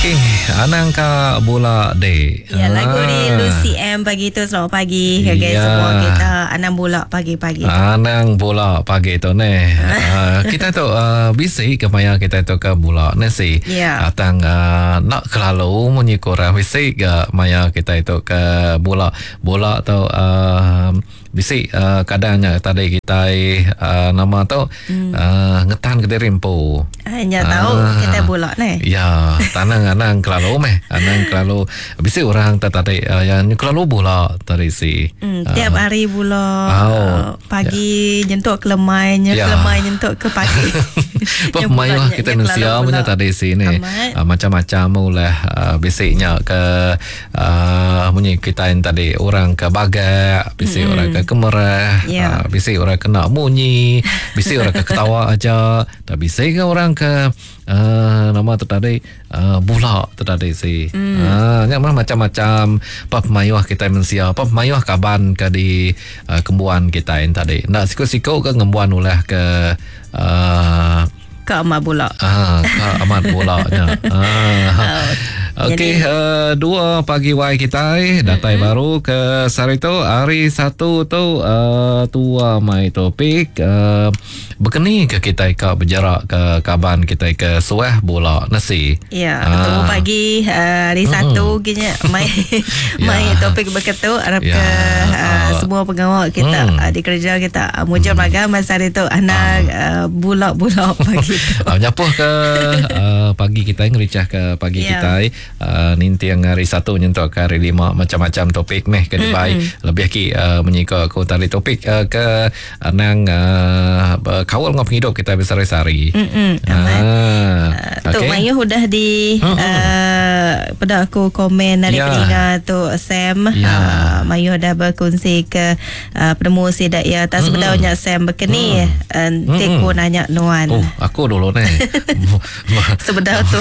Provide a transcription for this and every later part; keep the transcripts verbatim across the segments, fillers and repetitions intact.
Okey, anang ka bula dek. Ya, lagu ni Lucy M pagi tu. Selamat pagi okay, Ya. semua kita. Anang bula pagi-pagi. Anang bula pagi tu ni. Uh, kita tu uh, bisi ke maya kita tu ke bula ni si. Ya. Atang uh, nak kelalu munyi kurang bisi ke maya kita itu ke bula. Bula tu uh, bisi uh, kadangnya tadi kita uh, nama tu hmm. uh, ngetan ke diri empu. Hanya tahu Ah. kita bula ni. Ya, tanang anang kelalu meh. Anang kelalu bisi orang tak tadi uh, yang kelalu bula tadi si. Hmm, tiap hari bula Oh. uh, pagi nyentuk ke lemainya, Ya. ke lemai nyentuk ke pagi. Apa Yang mayuh bulanya, kita yang manusia kelalu punya bula. tadi si ni. Amat. Uh, macam-macam ulah uh, bisiknya ke uh, munyi kita yang tadi orang ke bagak, bisik mm-hmm. orang ke kemerah, Ya. uh, bisik orang kena munyi, bisik orang ke ketawa aja, tak bisik ke orang ke uh, nama tu tadi uh, bulak tu tadi si. Mm. Uh, nya mah macam-macam apa mayuh kita manusia, apa mayuh kaban ke di uh, kembuan kita yang tadi. Nak sikut-sikut ke ngembuan ulah ke uh, Ke amat bula. Ah, Kak amat bolanya. Ah. Okey, uh, dua pagi Y kita eh, datai mm-hmm. baru ke sehari tu hari satu tu uh, tua mai topik uh, berkeni ke kita ke berjarak ke kaban kita ke suah bola nasi. Ya, Ah. tunggu pagi uh, hari Satu kini mai Ya. mai topik berketuk harap Ya. ke uh, Ah. semua pengawal kita Hmm. uh, di kerja kita uh, mujur hmm. magang masa hari tu anak uh, bulak-bulak pagi tu. Ah, nyapuh ke uh, pagi kita ngericah ke pagi Ya. kita uh, nintiang hari satu nyentuk ke hari lima macam-macam topik meh ke dibai mm-hmm. lebih ki uh, menyika aku tadi topik uh, ke uh, nang uh, kawal ngau penghidup kita besar-besari. Mm-mm, amat. Ah, Uh, Tok okey. Mayu udah di Mm-mm. uh, pada aku komen dari Ya. peninga tu Sam Ya. uh, Mayu dah berkongsi ke uh, penemu sidak ya tak sebenarnya Sam berkeni uh, teku nanya nuan. Oh, aku dulu ni. Sebedah tu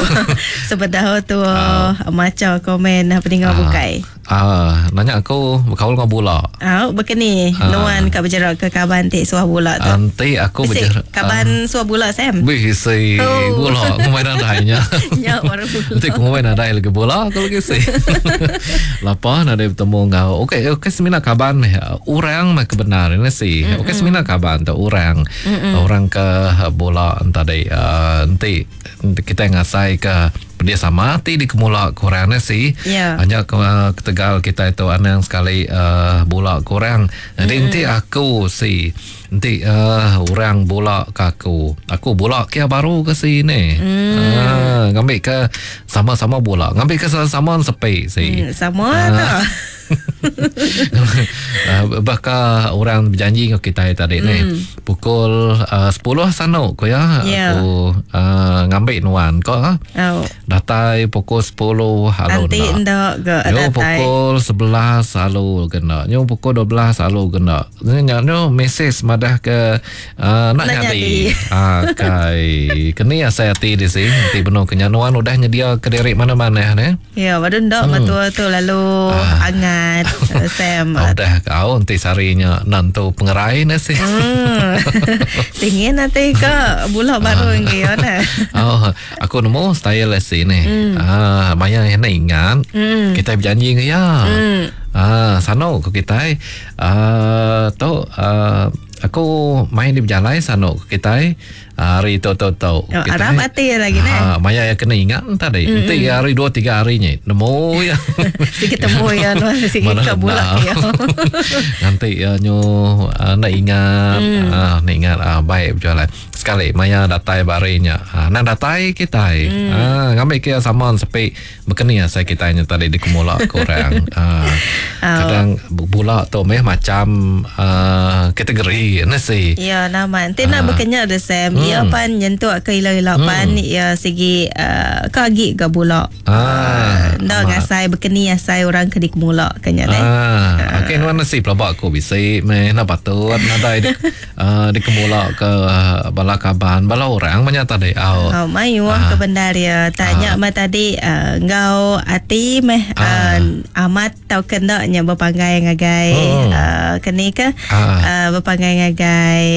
Sebedah tu uh, Macam komen Peninggal Ah. bukai Ah, nanya aku berkaul ngau bola. Ah, berkeni Ah. Nuan kat berjerak ke kaban tik suah bola tu. Nanti aku Bisik, berjerak. kaban suah bola Sam. Bisi Oh. bola aku main nadainya. Ya, baru bola. Nanti aku main nadai lagi bola aku lagi sih. Lapa nadai bertemu ngau. Okey, okey semina kaban meh. Orang meh kebenar ini sih. Okey semina kaban tu orang. Orang ke bola tadi uh, nanti kita ngasai ke dia sama ti di kemula kurang ni sih. Ya. Hanya ke, uh, ketegal kita itu anang sekali uh, bola kurang. Jadi nanti aku si nanti uh, orang bola ke aku. Aku bola kia baru ke sini. Mm. Uh, ngambil ke sama-sama bola. Ngambil ke sama-sama sepi si. Hmm, sama Ah. tu. uh, bakal orang berjanji dengan kita tadi ni pukul uh, sepuluh sanu ko ya Ya. aku uh, ngambil nuan ko ah. Oh. Datai pukul sepuluh halu Nanti nak. ndak ke Yo datai. pukul sebelas halu kena. Yo pukul dua belas halu kena. Nyo nyo mesej madah ke uh, nak Nak nyadi. nyadi. Ah kai. Keni asai hati di sini. Nanti benar kenyanuan udah nyedia ke diri mana-mana ne. Ya, baru ndak hmm. matua tu lalu hangat eh, Sam. Ah. Udah kau nanti sarinya nantu pengerai ne sih. Hmm. Tinggi nanti ke bola baru ngi ya nah. Oh, aku nemu style si ni. Mm. Ah, maya yang nak ingat. Mm. Kita berjanji ke ya. Mm. Ah, sano ke kita. Ah, tu ah, aku main di berjalai sano ke kita. Hari tu tu tu. Oh, Arab hati lagi ne. Ah, maya yang kena ingat tadi. Mm. Nanti hari dua tiga harinya nemu ya. Sikit temu ya nuan sikit Mana ke bola nak. ya. Nanti ya nyo uh, nak ingat mm. uh, nak ingat uh, baik berjalan. Sekali maya datai barinya. Uh, nak datai kita. Mm. Uh, ngambil kia sama sepi berkeni saya kita nya tadi di kemula korang. Uh, kadang bula tu meh macam uh, kategori nasi. Ya, nama. Nanti nak berkenyak dah Sam. Hmm. Ya pan nyentuk ke ila-ila pan ya segi uh, kagi ke bulak. Ah, Ndak amat. ngasai berkeni asai orang ke di kemula kenya ne. Ah, okey nuan nasi pelabak aku bisi meh nak patut nadai di uh, di kemula ke uh, bala bala kaban, bala orang banyak tadi. Oh, oh mayuh ah. ke bendar ya. Tanya ah. mah tadi uh, ngau ati meh ah. uh, amat tau kena nya berpanggai ngagai hmm. uh, keni ke ah. uh, berpanggai ngagai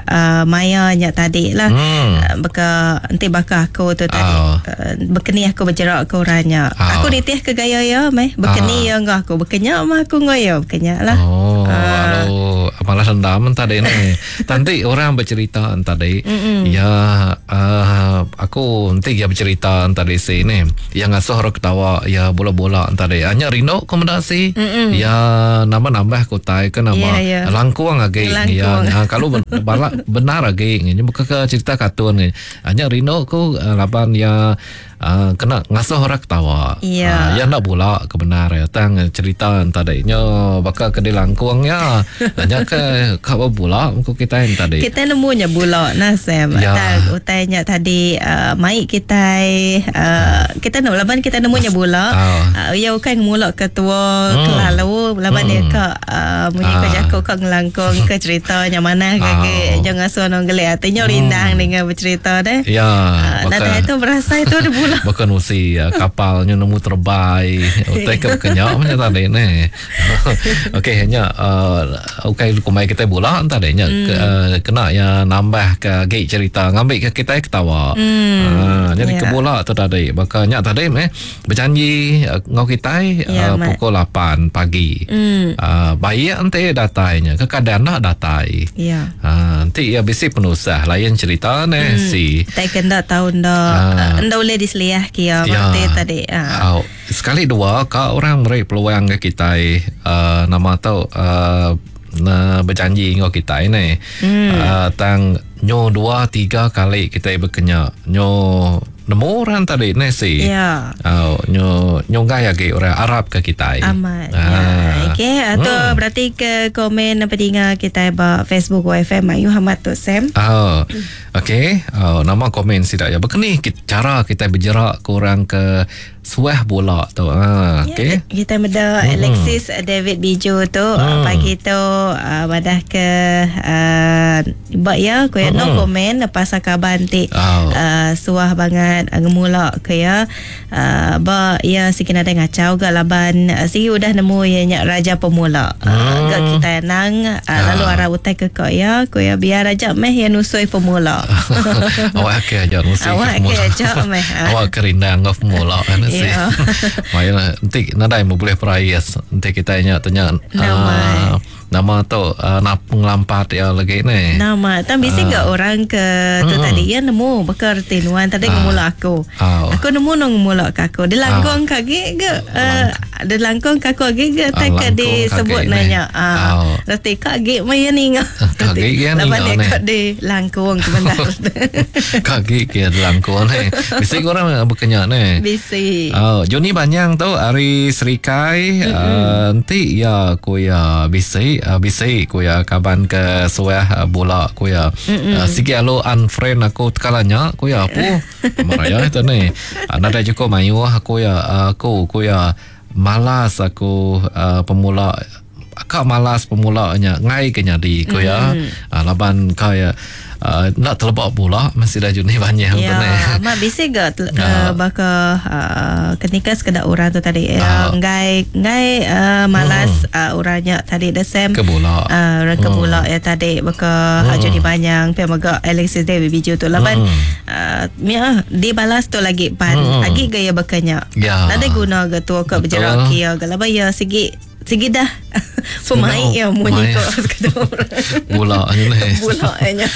uh, maya nya tadi lah. Hmm. Uh, beka enti baka aku tu tadi oh. uh, bekeni aku berjerak ke orangnya. Oh. Aku nitih ke gaya ya meh. Bekeni ya ngau aku bekenya mah aku ngau ya bekenya lah. Oh, uh. Lalu malah dendam tadi ni. Nanti orang bercerita tadi. Mm-mm. Ya uh, aku nanti dia bercerita tadi sini yang ngasuh orang ketawa ya bola-bola tadi. Hanya rindu komendasi. Ya nambah-nambah kutai ke nama yeah, yeah. Langkuang lagi. Ya nah, kalau balak benar lagi ni bukan ke cerita kartun ni. Hanya rindu ku uh, laban ya Uh, kena ngasuh orang ketawa. Yeah. Uh, ya nak pula kebenar ya tang cerita tadi nyo bakal ke dilangkung ya. Nya ke ka bula ku kita yang tadi. Kita nemunya bula nah Sam. Ya. Tang utainya tadi uh, mai kita uh, kita nak laban kita nemunya bula. Uh. Uh, ya bukan ngemulak ke tua hmm. kelalu laban hmm. dia ka uh, munyi ke jako ka ngelangkung ke ceritanya mana ke uh. jangan ngasuh nong gelik atinya rindang hmm. dengan bercerita deh. Ya. Uh, nah itu berasa itu ada bula. Bukan usi ya, kapalnya nemu terbai. Utai ke kenyak macam tadi ni. Okey hanya uh, okey kumai kita bola tadi nya mm. ke, uh, kena ya nambah ke gig cerita ngambil ke kita ketawa. Mm. Uh, jadi yeah. ke bola tu tadi. Baka nya tadi meh berjanji uh, ngau kita yeah, uh, pukul lapan pagi. Mm. Uh, baik nanti datainya. Kekadang nak datai. Ya. Yeah. Uh, nanti ya bisi penusah lain cerita ni mm. si. Tak kena tahu ndak ndak boleh diseliah kia ya. Tadi. Ha. Oh, sekali dua ka orang beri peluang ke kita uh, nama tu uh, berjanji dengan kita ini. Hmm. Uh, tang nyo dua tiga kali kita berkenya nyo nemu orang tadi ni si. Ya. Oh, nyo nyo gaya lagi orang Arab ke kita. Amat. Ah. Ya. Okey, atau hmm. berarti ke komen pendengar kita ba Facebook W F M Ayu Hamad tu Sam. Oh. Okey, oh, nama komen sidak ya. Bekeni cara kita berjerak ke orang ke suah bola tu. Ha, ya, okey. Kita meda hmm. Alexis David Biju tu hmm. pagi tu uh, badah ke uh, bak ya ku hmm. no komen pasal kaban ti oh. uh, suah banget uh, ngemulak ke ya. Uh, ba ya sikit ada ngacau gak laban uh, sigi udah nemu ya nyak raja pemula. Hmm. Uh, gak kita nang uh, ah. lalu arah utai ke kok ya ku ya biar aja meh ya nusui pemula. Awak ke aja nusui awak ke aja meh. Awak kerindang ngau pemula kan sih. Ya. Mayalah nanti nadai mau boleh perais nanti kita nya tanya nama uh, nama tu uh, nak pengelampat ya lagi ni. Nama tapi bisi uh. gak orang ke tu hmm. tadi ya nemu bekerti nuan tadi uh. ngemula aku. Uh. Aku nemu nong ngemula ke aku. Dia langkong uh. kaki ke uh, dia langkong ke aku lagi ke uh, tak ke disebut nanya. Ah. Uh. Reti kaki maya ni ngah. Kaki ya ni. Lepas dia kat di langkong ke benda. Kaki ke langkong ni. Bisi orang berkenyak ni. Bisi. Oh, Joni Banyang tu hari Serikai uh, nanti ya ku ya bisi uh, bisi ku ya kaban ke suah uh, bola ku ya uh, sigi alo unfriend aku tekalanya ku ya apa maraya itu ni uh, nadai cukup mayu aku ya aku ku ya malas aku uh, pemula akak malas pemulanya ngai ke nyadi ku ya uh, laban ka ya Uh, nak terlebak pula masih dah jenis banyak ya, tu ni. Mak bisi gak uh, baka uh, ketika sekedar orang tu tadi uh, ngai ngai uh, malas hmm. uh, orangnya tadi the same ke bola. Uh, orang ke bola hmm. ya tadi baka hmm. Joni Banyang pe mega Alexis David Biju tu laban hmm. uh, mia dibalas tu lagi pan hmm. lagi gaya bakanya. Ya. Nadai guna ke tu ke berjerak kia ke laban ya segi segi dah pemain ya munyi ko sekadar orang. Bola ni. Bola nya.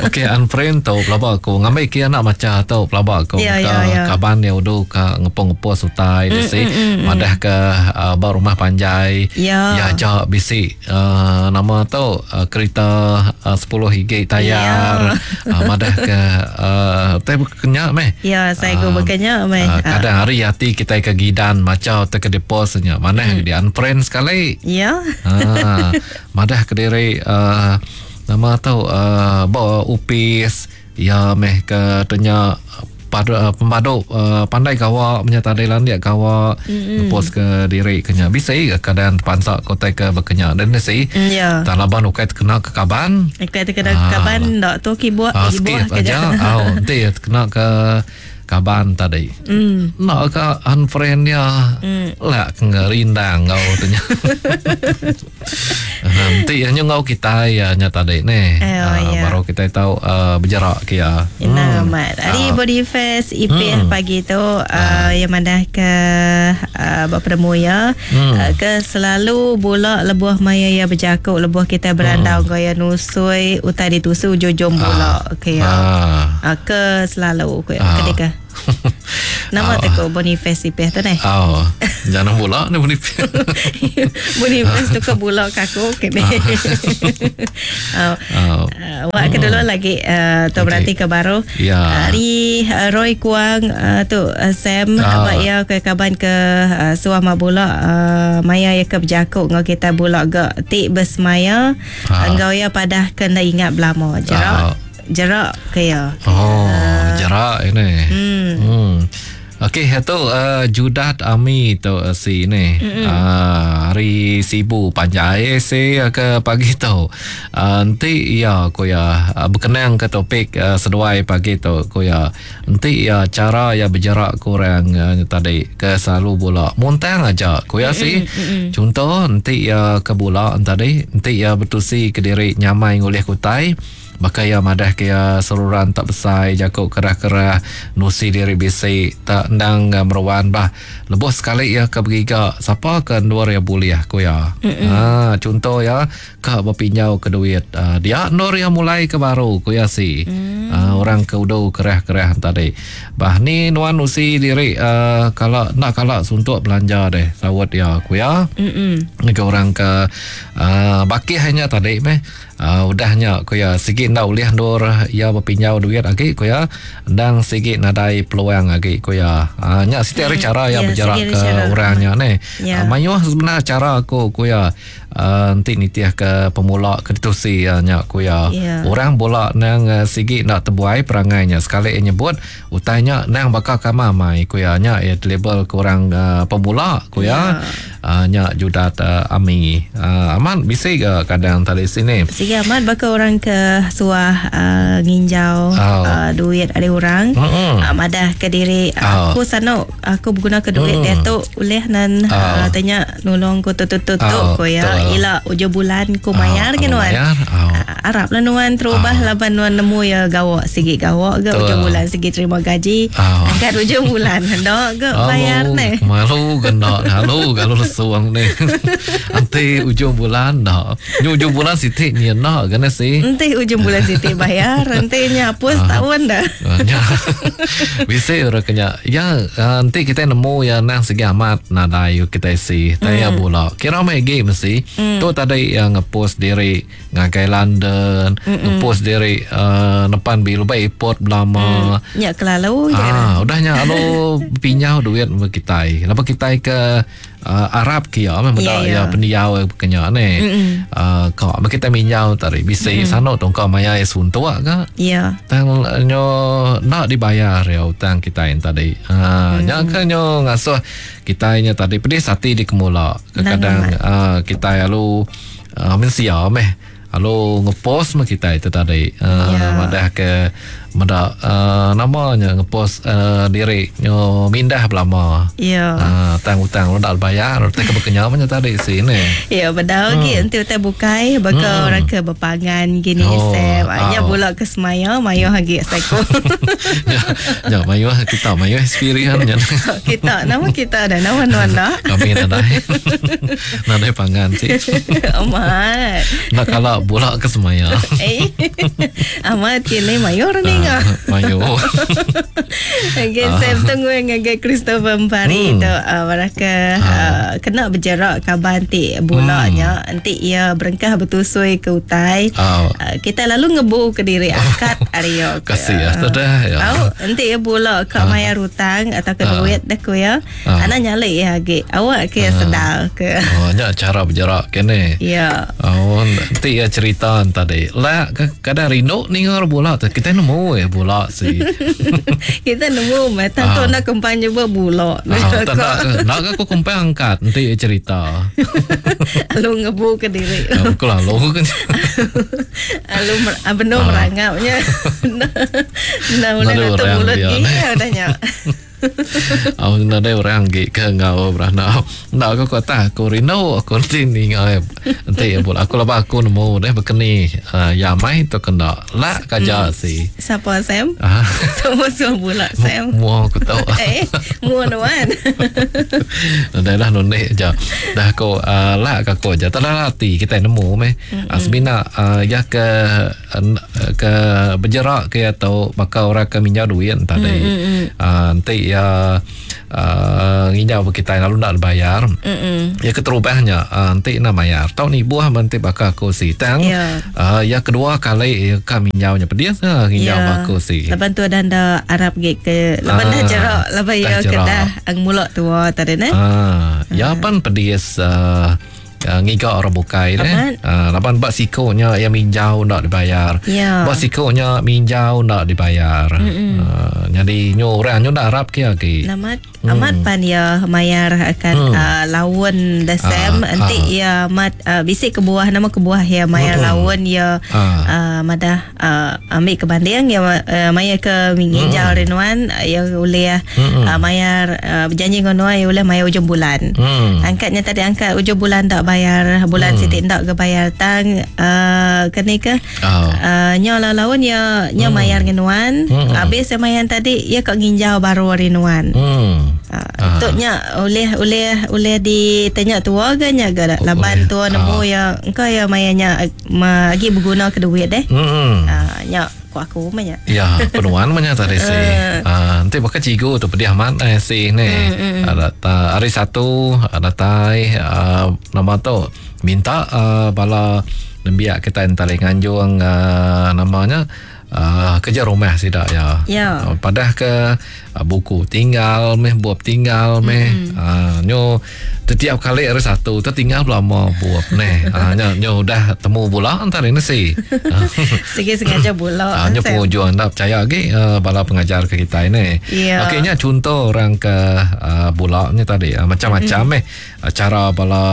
Okey unfriend tau pelaba aku ngambil ke anak maca tau pelaba aku ya, ke ya, ya. kaban ya udu ka ngepong-ngepong sutai mm, bisi mm, mm, madah ke uh, ba rumah panjai ya ya jak bisi uh, nama tau uh, kereta uh, sepuluh higi tayar ya. uh, madah ke uh, tai berkenyak meh. Ya saya uh, berkenyak meh. Uh, kadang hari hati kita ke gidan maca atau ke deposnya mana mm. di unfriend sekali. Ya. Ha, madah kediri uh, nama tu uh, bawa upis ya meh ke tanya padu, uh, pemadu uh, pandai gawa menyata tadi landik gawa mm-hmm. ngepost ke diri kenya bisi kadang pansa kota ke berkenya dan si mm, yeah. Tak laban ukai terkena ke kaban ukai terkena ke kaban ndak tu kibuak ah, skip aja oh nanti terkena ke kaban tadi mm. Nak ke unfriend dia mm. Lah ngerindang kau tanya. Nanti hanya ngau kita ya nya tadi ni. Eh, oh, uh, ya. Baru kita tahu uh, berjarak ke ya. Hmm. Amat. Hari uh. Boniface I P hmm. pagi tu uh, uh. yang mana ke uh, bertemu ya hmm. uh, ke selalu bola lebuh maya ya berjakuk lebuh kita berandau hmm. gaya nusui utai ditusu jojom bola uh. ke ya. Uh. Uh, ke selalu ke uh. ketika nama oh. teko Boniface I P tu ni. Oh, jangan bola ni Boniface. Boniface tu ke bola kaku ke ni. Oh. Oh. Uh, wak ke dulu lagi uh, tu Okey. berarti ke baru. Ya. Hari uh, Roy Kuang uh, tu uh, Sam Ah. abak ya ke kaban ke uh, suah ma bola uh, maya ya ke berjakuk ngau kita bola gak tik bersemaya Ah. engkau ya padah kena ingat belama jerak Ah. jerak ke ya. Oh, jarak ini. Hmm. Hmm. Okey, itu uh, Judat Ami tu uh, si ni. Uh, hari Sibu panjai si ke pagi tu. Uh, nanti ya ko ya uh, berkenang ke topik uh, seduai pagi tu ko ya. Nanti ya cara ya berjarak kurang uh, tadi ke selalu bola. Muntang aja ko ya si. Contoh nanti ya ke bola tadi, nanti ya bertusi ke diri nyamai ngulih kutai. Maka ya madah ke ya seluruhan tak besar jakuk kerah-kerah nusi diri bisi tak endang uh, meruan bah lebuh sekali ya ke beriga siapa ke luar ya boleh aku ya ha contoh ya ke berpinjau ke duit uh, dia nur ya mulai ke baru ku ya si Mm. uh, orang ke udu kerah-kerah tadi bah ni nuan nusi diri uh, kalau nak kalau suntuk belanja deh sawat ya aku ya Mm-mm. ni ke orang ke uh, baki hanya tadi meh uh, udahnya ku ya sigi ndak ulih ndur ya berpinjau duit lagi ku ya ndang sigi nadai peluang lagi ku ya uh, nya siti hari cara ya Ya, berjarak sigi ke cara. orangnya ni Ya. uh, mayuh sebenar cara aku ku ya uh, nanti nitiah ke pemula ke ditusi ya nya ku ya Ya. orang bola nang uh, sigi nak terbuai perangainya sekali ia nyebut utainya nang bakal kamamai ku ya nya ya label ke orang uh, pemula ku ya uh, nya judat uh, ami uh, aman bisi ke kadang tadi sini Sigi amat baka orang ke suah uh, nginjau Oh. uh, duit ada orang Mm-mm. uh, madah ke diri Oh. aku sano aku berguna ke duit Mm. dia tu ulih nan Oh. uh, tanya nolong ku tu tu tu tu Oh, ku ya betul. ila ujung bulan ku mayar Oh, ke aku nuan bayar. Oh. Uh, Arab lah nuan terubah Oh. laban nuan nemu ya gawak sigi gawak ke Betul. ujung bulan sigi terima gaji Oh. angkat ujung bulan hendak ke bayar ne Malu kena halu kalau lesuang ni. Nanti ujung bulan dah. Ni ujung bulan sitik ni nak kena sih. Nanti ujung bulan siti bayar nanti hapus Ah. tahun dah Ya. Bisa orang kena. Ya, nanti kita nemu ya nang segi amat nadai kita si. Tanya Hmm. bola. Kira mai game mesti. Tu tadi yang ngepost diri ngagai London, ngepost diri uh, nepan bil baik airport belama. Nyak kelalu je Ah, udahnya alo pinjau duit sama kita. Kenapa kita ke uh, Arab ke ya memang Ya, yeah, ya. ya pendiau kenya ni. Uh, kau uh, kita minjau tadi bisa mm. sano tong kau maya ya suntuk ke. Ya. Tang nyo nak dibayar ya hutang kita yang tadi. Ha, mm. nya ke nyo ngasuh kita nya tadi pedih hati di kemula. Kadang uh, kita lalu uh, mensia meh. Lalu ngepost mah kita itu tadi. Uh, Ya. Madah ke madah uh, namanya ngepost uh, diri nyo mindah belama. Ya. Uh, tang hutang lu tak bayar, tak keberkenyal punya tadi sini. Ya, bedau hmm. lagi nanti utai bukai baka hmm. orang ke berpangan gini Oh, Sam. Anya oh. pula ke semaya mayo hagi seko. ya, ya mayu kita mayu experience nya. kita nama kita ada nama nuan dah. Kami nadai. Nadai pangan sih. Amat. Nak kalau bola ke semaya. Eh. Amat kini mayor ni ngah. Ah, mayu. Okay, Sam tunggu yang ngagai Christopher Empari Hmm. tu uh, mereka uh, kena berjerak kaban ti bulanya hmm. nanti ia berengkah bertusui ke utai. Oh. Uh, kita lalu ngebu ke diri akad Aryo. Kasih ya, tu dah, ya. Tahu nanti ia bula kat mayar hutang atau ke Ah. duit dah ku ya. Ah. Anak nyalik ya lagi. Awak ke sedar ke. Oh, nya cara berjerak kene. Ya. Oh, nanti ya cerita tadi. Lah kadang rindu ningar bola tu. Kita nemu nemu ya bula si. Kita nemu meh tang tu nak kempang nyebut bula. Ah, tak nak nak aku kempang angkat nanti cerita. Lalu ngebu ke diri. Aku lalu kan. Lalu benar merangapnya. Nah, boleh nutup mulut ni udahnya. Oh, nada orang gi ke ngau beranak. Nak aku kata aku rindu aku nanti ni ngai. Nanti ya aku laba aku nemu deh bekeni uh, ya mai tu kena lak kaja hmm. si. Siapa Sam? Ah. Semua semua bula Sam. Mua aku tahu. Eh, mua nuan. Dah lah none je. Dah aku uh, lak aku aja. Tak lah hati kita nemu meh. Uh, semina uh, ya ke uh, ke berjerak ke atau bakal orang ke minjau duit tadi. Uh, nanti ya uh, nginjau kita lalu nak bayar. Mm-mm. Ya keterubahnya uh, nanti nak bayar. Tau ni buah nanti bakal aku si tang. Yeah. Uh, ya kedua kali ya kami nginjaunya pedih uh, nginjau yeah. aku si. Lepas tu ada anda Arab ge ke lepas dah jerak lepas ya kedah ang mulak tua tadi ne. Ah, ya pan pedih uh, Uh, ngiga orang bukai deh. Uh, laban bak sikonya yang minjau nak dibayar. Yeah. Bak sikonya minjau nak dibayar. Uh, jadi nyo orang nyo nak Arab ke lagi. Amat hmm. amat pan ya mayar akan hmm. uh, lawan desem uh, nanti uh. ya amat uh, bisik ke buah nama ke buah ya mayar hmm. lawan ya uh. uh, madah uh, ambil ke banding ya uh, mayar ke minjau hmm. renuan ya boleh hmm. uh, mayar uh, berjanji ngono ya boleh mayar ujung bulan. Hmm. Angkatnya tadi angkat ujung bulan tak bayar bulan hmm. sitik ndak ke bayar tang uh, kene ke oh. uh, nyo lawan ya nyo hmm. mayar ngenuan hmm. habis mayar tadi ya kok nginjau baru rinuan hmm. uh, tok nya oleh oleh oleh ditanya tua ke nya ga laban tua nemu oh. ya engkau ya mayarnya lagi berguna ke duit deh hmm. uh, nya ku aku mah ya penuan mah tadi si uh, nanti bakal cigu tu pedih amat eh si ni mm, mm. Ada ta, hari satu ada tai uh, nama tu minta uh, bala nembiak kita entah nganjung uh, namanya uh, kerja rumah sidak ya. Ya. Uh, padah ke uh, buku tinggal meh buap tinggal meh mm. uh, nyo setiap kali hari satu tertinggal lama buap neh. Uh, nyo nyo dah temu bola antar ini si. Sikit sengaja bola. Uh, nyo penghujung anda percaya lagi uh, bala pengajar ke kita ini. Ya. Okey nya contoh orang ke uh, bola ni tadi uh, macam-macam mm. meh uh, cara bala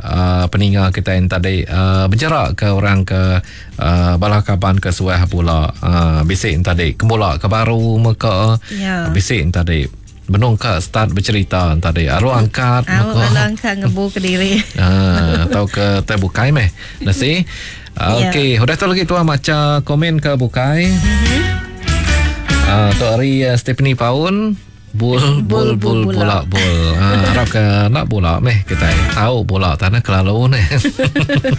uh, peninga kita yang tadi uh, berjarak ke orang ke uh, bala kaban ke suah bola. Uh, bisik tadi kemula ke baru meka ya. Bisik tadi benung ke start bercerita tadi aru angkat meka aru angkat ngebu ke diri uh, atau ke teh bukai meh nasi uh, ya. Okey udah tu lagi tuan baca komen ke bukai. Mm-hmm. Uh, tu hari uh, Stephanie Paun bul bul bul bola bul. Ha, harap ke nak bola meh kita tahu bola tanah kelalu ni.